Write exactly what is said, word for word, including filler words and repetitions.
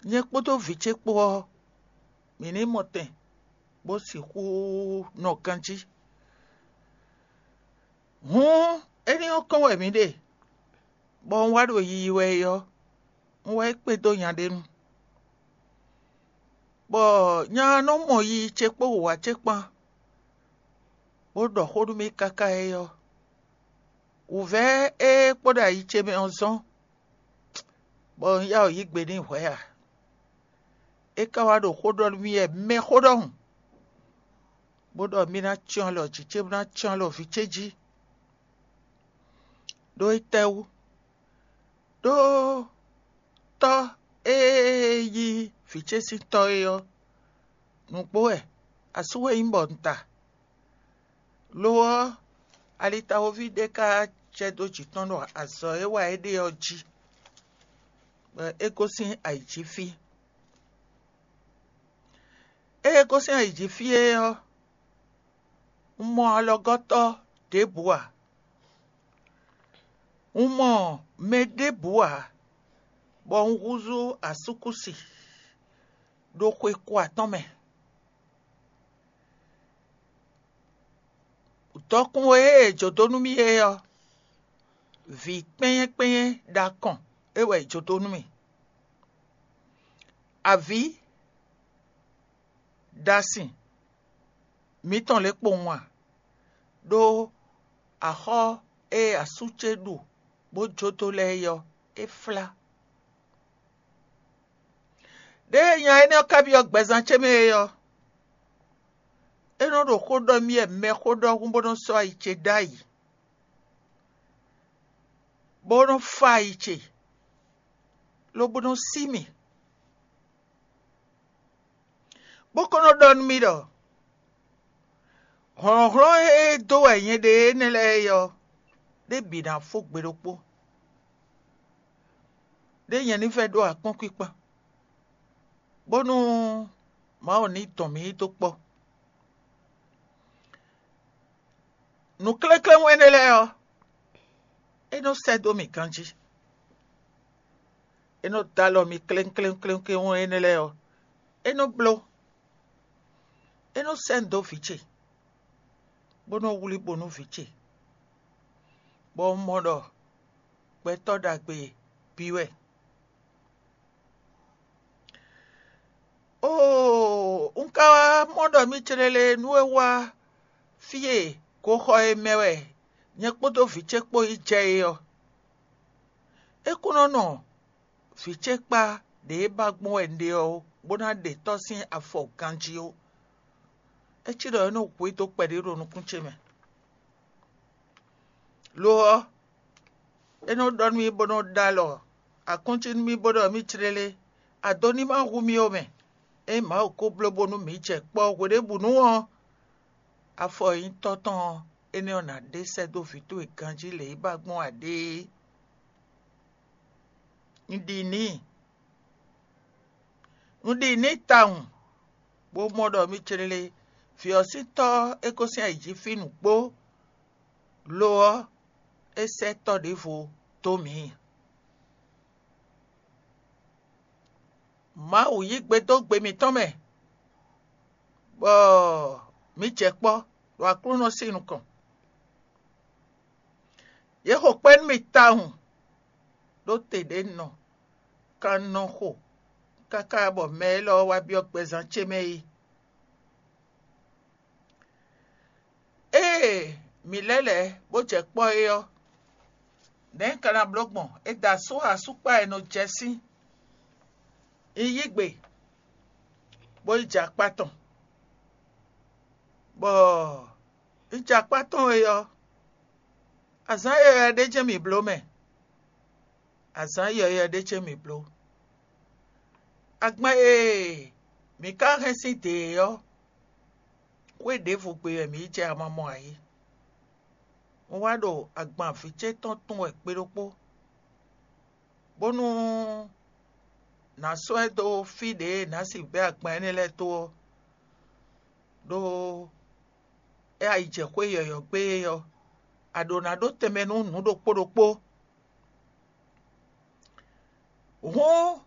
Nyɛ kpódó vǐ ce kpó ɔ́, mǐ ní mɔ tɛn bó sixú nɔ ganjí. Hǔn éní ɔ́ kɔn wɛ mǐ ɖe, bɔ un wá ɖo yiyi wɛ é ɔ́, un wá yi kpé dó nya ɖé nu, bɔ nya ɔ́ nɔ mɔ yiyi ce kpó wǔwá ce kpán, bó ɖɔ xó nú mì káká é ɔ́, wǔvɛ́ e kpo ɖo ayi ce mɛ ɔ́ zɔ́n, bɔ un yá wǔ yí gbe n'i hwɛ̌ ǎ. É ka wá ɖo xó ɖɔ nú mì wɛ mɛxó ɖɔhun, bó ɖɔ mì ná cyɔ́n alɔ jǐ ce, bó ná cyɔ́n alɔ vǐ ce jí. Ɖó étɛ́wú? Ɖó tɔ́ e yí vǐ ce sín tɔ́ é ɔ́, nǔgbó wɛ, asú wɛ nyí bɔ un ta. Lo ɔ́, alitawoví ɖé ka jɛ dó jǐ tɔn ɖo azɔ̌ e wa é ɖe ɔ́ jí, bɔ é gosín ayǐjínfí. Ée é gosín ayǐjínfí é ɔ́, un mɔ alɔgɔ́tɔ́ ɖěbǔ ǎ. Un mɔ mɛ ɖěbǔ ǎ, bɔ un húzú asúkúsi ɖo xwe ko atɔn mɛ. Dɔkun e è jǒ dó nú mì é ɔ́, vǐ kpɛ́nyɛ́ kpɛ́nyɛ́ ɖo akɔn é wɛ è jǒ dó nú mì. Avǐ ɖo asin mǐtɔn lě kpowun a? Ɖó axɔ́ e asú ce ɖu bó jó dó lɛ́ɛ é ɔ́, é flá. Ɖěe nya énɛ́ ɔ́ ka byɔ́ gbɛzán ce mɛ é ɔ́, é nɔ ɖo xó ɖɔ mì wɛ mɛxó ɖɔhun bó nɔ sɔ́ ayi ce ɖ'ayǐ, bó nɔ fá ayi ce, lobo nɔ sí mì, bó ka nɔ ɖɔ nú mì ɖɔ: “Hlɔ̌nhlɔ́n e dó wɛ nyɛ ɖe énɛ́ lɛ́ɛ é ɔ́, ɖě bǐ ná fó gbe ɖokpó; ɖě nyɛ ní vɛ́ ɖó akpɔ́nkwíkpán, bónú Mawu ní dɔn mǐ dó kpɔ́.” Nǔklékléwún énɛ́ lɛ́ɛ ɔ́, é nɔ sɛ́ dó mì ganjí; é nɔ dó alɔ mì kléwún kléwún énɛ́ lɛ́ɛ ɔ́, é nɔ bló; é nɔ sɛ́ nǔ dó vǐ ce, bó nɔ wlí bo nú vǐ ce, bɔ un mɔ ɖɔ gbɛtɔ́ ɖagbe bǐ wɛ. Oo, un ka wá mɔ ɖɔ mì céɖéɖé nú é wá fí e goxɔ e mɛ wɛ nyɛ kpódó vǐ ce kpó yi jɛ é ɔ́. É kún nɔ nɔ vǐ ce kpá ɖě e ba gbɔn wɛ un ɖe ɔ́ ó, bó ná ɖe tɔ́ sín afɔ ganjí ó. É cí ɖɔ é nɔ hu i dó kpɛɖé ɖo nukún ce mɛ. Lo ɔ́, é nɔ ɖɔ nú mì bó nɔ ɖó alɔ akɔ́ncí nú mì bó ɖɔ mì clélé, ado ní ma hu mì ó mɛ. Ényí Mawu ko bló bónú mǐ jɛ kpɔ́ hweɖěbǔnu ɔ́, afɔ e nyí tɔ́ tɔn ɔ́, énɛ́ ɔ́ ná ɖe sɛ́ dó vǐ towe ganjí lě e ba gbɔn ǎ ɖe é. Un ɖi n'i. Un ɖi n'i tawun, bó mɔ ɖɔ mì clélé, vǐ ɔ́ sín tɔ́ ɔ́, é gosín ayǐjínfí nǔgbó; lo ɔ́, é sɛ́ tɔ́ ɖěvo dó mǐ. Mawu yí gbe dó gbe mǐtɔn mɛ, bɔ mǐ jɛ kpɔ́ ɖo Aklúnɔ sín nukɔn. Yě xo kpɛ́ nú mì tawun, ɖó te ɖě un nɔ kan nɔ xo káká bɔ mɛ élɔ́ wá byɔ́ gbɛzán ce mɛ é. Ée mǐ lɛ́ lɛ̌ bó jɛ kpɔ́ é ɔ́, nɛ̌ un ka ná bló gbɔn? È da asú asúkpa e nɔ jɛ sín. Un yí gbe, bó yi jɛ akpá tɔn, bɔ un jɛ akpá tɔn é ɔ́, azǎn yɔywɛ ɖé jɛ́n mǐ bló mɛ. Azǎn yɔywɛ ɖé jɛ́n mǐ bló. Agban e mǐ ka hɛn sín dě é ɔ́, xwé ɖěvo gbe wɛ mǐ yi jɛ amamɔ ǎ é. Un wá ɖo agban vǐ ce tɔn tunwun wɛ gbe ɖokpó, bónú nǎ sɔ́ ɛ dó fí ɖě e nǎ sixú bɛ́ agban énɛ́ lɛ́ɛ dó ɔ́, ɖó é ayijɛxwé yɔ̌yɔ́ gbe é ɔ́, a ɖǒ ná ɖó tɛnmɛ nú nǔ ɖokpó ɖokpó. Hǔn